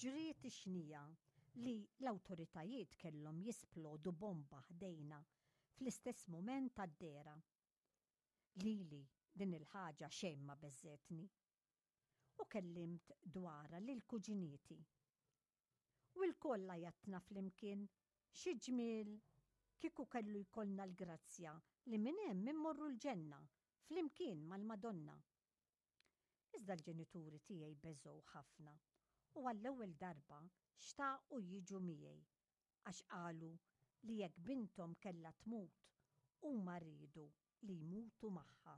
Ġriet ix-xnija li l-awtoritajiet kellhom jisplodu bomba ħdejna fl-istess mument tad-dehra. Lili din il-ħaġa xejn ma beżżgħetni. U kellimt dwarha lil kuġinieti. U lkoll għajatna flimkien, xi ġmiel kieku kellu jkollna l-grazzja li minn hemm immorru l-ġenna flimkien mal-Madonna. Iżda l-ġenituri tiegħi beżgħu ħafna u għall-ewwel darba xtaqu jiġu miegħi għax qalu li jekk binthom kellha tmut huma riedu li jmutu magħha.